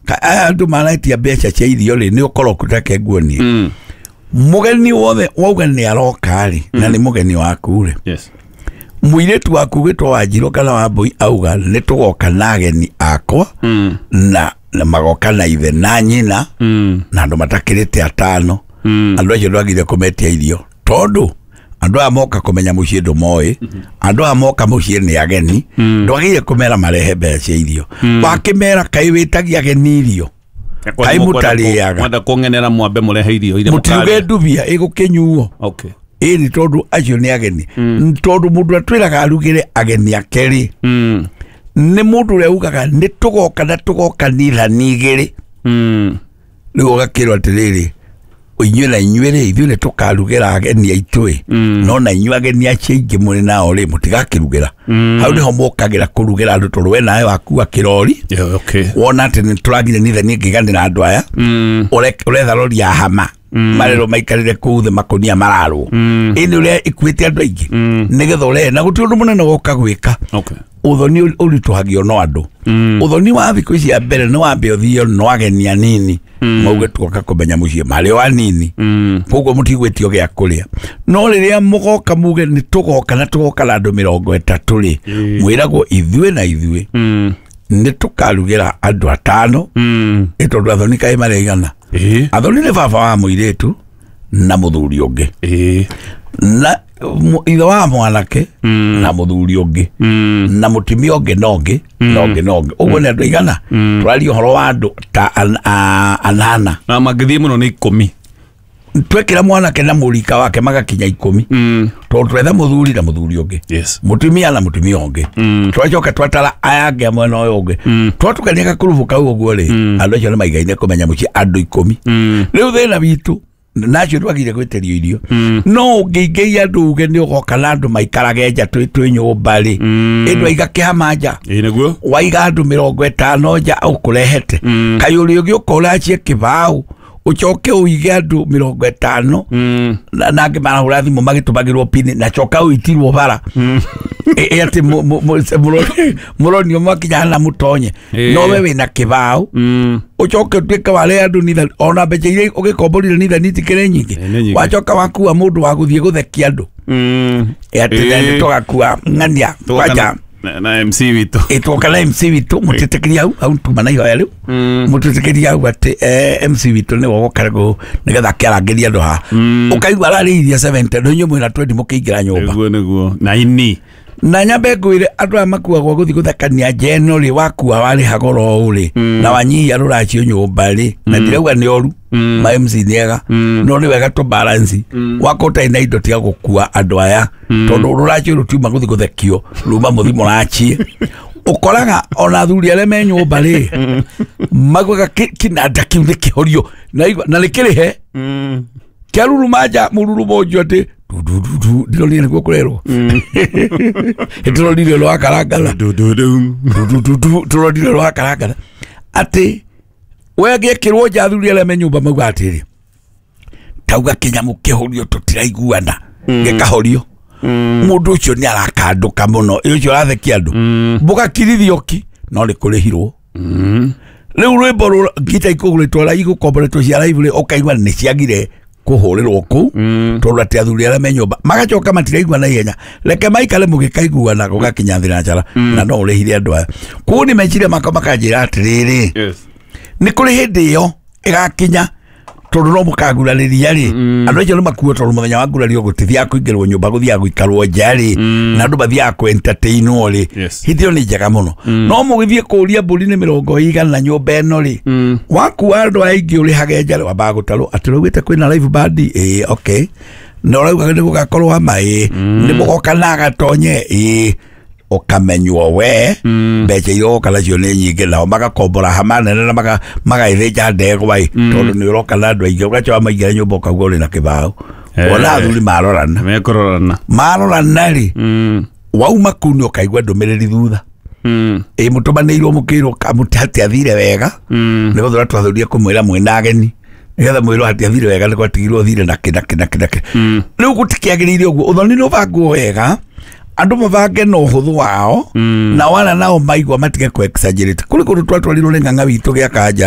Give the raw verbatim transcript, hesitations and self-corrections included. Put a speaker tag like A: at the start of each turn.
A: Ka- aya andũ maraitia mbeca cia irio rĩ, nĩ ũkoroku take nguonie.
B: Mm.
A: Mũgeni wothe wauga nĩ aroka rĩ, na nĩ mũgeni waku rĩ,
B: Yes.
A: mũirĩtu waku gwĩtwo Wanjirũ kana Wambũi auga nĩ tũgoka na ageni akwa,
B: Mm.
A: na na magoka na ithe na nyina,
B: Mm.
A: na andũ matakĩrĩte atano.
B: Mm.
A: Andũ acio ndwagire kũmetia irio, tondũ andũ aya moka kũmenya mũciĩ ndũmoĩ, andũ aya moka mũciĩ nĩ ageni, ndwagire kũmera marehe mbeca cia irio. Wakĩmera kaĩ wĩtagia ageni irio, kaĩ mũtarĩaga?
B: Mwenda kũng'enera mwambe mũrehe irio iria
A: Mũtiruge
B: mũkarĩa.
A: ndubia ĩgũkĩnyuo.
B: Okay.
A: Ĩni tondũ acio nĩ ageni, tondũ mũndũ atwĩraga arugĩre ageni ake rĩ,
B: Mm.
A: nĩ mũndũ ũrĩa ugaga nĩ tũgoka na tũgoka nithani igĩrĩ.
B: Mm.
A: Rĩu ũgakĩrwo atĩrĩrĩ, inyuĩ na inyuĩ rĩ, ithuĩ nĩ tũkarugĩra ageni aitũ ĩ, no na inyuĩ ageni acio aingĩ mũrĩ nao rĩ, mũtigakĩrugĩra. Hau nĩho mũkagĩra kũrugĩra andũ, tondũ we nawe wakua kĩrori.
B: Yeah, okay.
A: Wona atĩ nĩ tũragire nithani ĩngĩganĩra andũ aya,
B: Mm.
A: ũre- ũretha rori ya hama marerwo maikarĩre kũu thĩ makũnia mararwo, ĩnĩ ũrĩa ĩkuĩte andũ aingĩ, nĩgetha ũrehe na gũtirĩ ũndũ mũnene woka gwĩka.
B: Okay.
A: Ũthoni ũritũhagio no andũ. Ũthoni wa thikũ ici ya mbere nĩ wambe ũthio no ageni anini mauge tuoka kũmenya mũciĩ, marĩ o anini,
B: Mm.
A: koguo mũtigwĩtio gĩa kũrĩa. No rĩrĩa mũgoka muge nĩ tũgoka na tũgoka na andũ mĩrongo ĩtatũ rĩ, mwĩragwo ithuĩ na ithuĩ
B: Mm.
A: nĩ tũkarugĩra andũ atano.
B: Mm.
A: Ĩ tondũ athoni kaĩ marĩ igana?
B: Ĩĩ.
A: Athoni nĩ baba wa mũirĩtu na mũthuri ũngĩ,
B: Ĩĩ.
A: na mu- ithe wa mwanake na mũthuri ũngĩ,
B: Mm.
A: na mũtumia ũngĩ na ũngĩ na ũngĩ na ũngĩ. Ũguo nĩ andũ igana? Tũraria ũhoro wa andũ ta an- a- anana.
B: Na mangĩthiĩ mũno nĩ ikũmi.
A: Twekĩra mwanake na mũrika wake magakinya ikũmi,
B: Mm.
A: tondũ twetha mũthuri na mũthuri ũngĩ,
B: Yes.
A: mũtumia na mũtumia ũngĩ, twacoka twatara aya angĩ a mwena ũyũ ũngĩ, twatukania gakurubu kau ũguo rĩ, andũ acio nĩ maigaine kũmenya mũciĩ andũ ikũmi. Rĩu thĩna witũ nacio twagire gwĩtĩrio irio, no ũngĩingĩria andũ uge nĩ ũgoka na andũ maikarage nja twĩ twĩ nyũmba rĩ, ĩndũ aiga kĩhama nja.
B: Ĩĩ nĩguo.
A: Waiga andũ mĩrongo ĩtano nja ũkũrehete, kaĩ ũrĩ ũgĩũka ũracie kĩbaũ, ũcoke ũige andũ mĩrongo ĩtano,
B: Mm.
A: na na angĩ marahũra thimũ magĩtũmagĩrwo pini, na coka ũitirwo bara. Ĩ- ĩ atĩ mũ- mũ- mũ- mũroni- mũronio mwakinya na mũtonye.
B: Ĩ.
A: No we wĩna kĩbaũ,
B: Mm.
A: ũcoke ũtuĩke warĩa andũ nithani, ona mbeca iria ũgĩkomborire nithani itikĩrĩ nyingĩ.
B: Ĩ, nĩ nyingĩ.
A: Wacoka wakua mũndũ wa gũthiĩ gũthekia andũ.
B: Mm.
A: Ĩ atĩ
B: Ĩ.
A: nĩ tũgakua ng'ania
B: Tũgoka
A: kwanja.
B: na, na M C witũ.
A: Ĩtwoka na M C witũ, mũtĩtĩkĩria hau hau tuma na ihoya rĩu, mũtĩtĩkĩria hau atĩ eh, M C witũ nĩwe ũgoka gũ nĩgetha akĩarangĩria andũ haha. Ũkaigua ararĩithia seventy, no inyuĩ mwĩna twenty mũkĩingĩra nyũmba.
B: Nĩguo nĩguo. Na ini.
A: Na nyambe ngwĩre, andũ aya makuagwo gũthiĩ gũthekania nja ĩno rĩ, wakua warĩha goro ũũ rĩ, na wanyihia rũracio nyũmba rĩ, na ndirauga nĩ oru, ma M C nĩ ega, no nĩ wega tũ balance. Wakorwo ũtarĩ na indo, tiga gũkua andũ aya, tondũ rũracio rũtiuma gũthiĩ gũthekio, ruma mũthi mũrachie. Ũkoraga ona athuri arĩa me nyũmba rĩ, maguaga kĩ- kĩnanda kĩu nĩ kĩhorio na igua- na nĩ kĩrĩhe
B: Mm.
A: kĩaruruma nja mũrurumo ũcio atĩ dudududu, ndironire nĩguo kũrerwo, tũronire rwakarangana.
B: Du du du.
A: Dudududu, tũronire rwakarangana atĩ we gĩkĩrwo nja, athuri arĩa me nyũmba mauga atĩrĩ, tauga kĩnyamũ kĩhorio, tũtiraiguana, gĩkahorio, mũndũ ũcio nĩ arakandũka mũno. Ĩ ũcio ũrathekia andũ mũgakirithio ki, no nĩ kũrĩhirwo. Rĩu rwĩmbo rũ ngita ikũgũrĩtwo igũkomboretwo cia live rĩ, ũkaigua nĩ ciagire kũhũrĩrwo kũu, tondũ atĩ athuri arĩa me nyũmba magacoka matiraigua na ihenya. Reke maikare mũgĩkaiguana gũgakinya thinacara, na no ũrĩhire andũ aya. Koguo nĩ meciria makwa makanjĩra atĩrĩrĩ,
B: Yes.
A: nĩ kũrĩ hĩndĩ ĩyo ĩgakinya, tondũ no mũkagurarĩria rĩ, andũ acio nĩ makuo, tondũ mũthenya wa ngurario gũtithiaga kũingĩrwo nyũmba, gũthiaga gũikarwo nja rĩ, na andũ mathiaga kũ-entertainwo rĩ.
B: Yes.
A: Hĩndĩ ĩyo nĩ njega mũno, no mũgĩthiĩ kũũria mbũri nĩ mĩrongo igana nyũmba ĩno rĩ, wakua andũ aingĩ ũrĩhage nja rĩ, wambaga gũtarwo atĩ ũraugĩte kwĩna live band, ĩĩ, okay, na ũrauga nĩ gũgakorwo ama, ĩĩ, nĩ mũgoka na agatonye, ĩĩ, ũkamenywo we mbeca iria ũgoka nacio nĩ nyingĩ, nao magakombora hama nene na maga- magaithĩnja ndegwa ĩ, tondũ nĩ ũroka na andũ aingĩ. Ũgacoka maingĩra nyũmba ũkauga ũrĩ na kĩbaũ.
B: Eh.
A: Ona athuri marorana,
B: Mekũrorana.
A: marorana rĩ,
B: Mm.
A: wauma kũu nĩ ũkaigua ndũmĩrĩri thutha,
B: Mm.
A: ĩ mũtũmanĩirwo mũkĩrwo hatiathire wega,
B: Mm.
A: nĩ gũthũra twathũrie kũmwĩra mwĩna ageni nĩgetha mwĩrwo hatiathire wega, nĩ gwatigirwo thire nakĩ nakĩ nakĩ nakĩ. Rĩu gũtikĩagĩrĩire ũguo. Ũthoni nĩ ũbangwo wega, andũ mabange na ũhũthũ wao, na wana nao maigua matige kũ exaggerate. Kũrĩ kũndũ twatwarirwo nĩ ng'ang'a witũ gĩa kanja.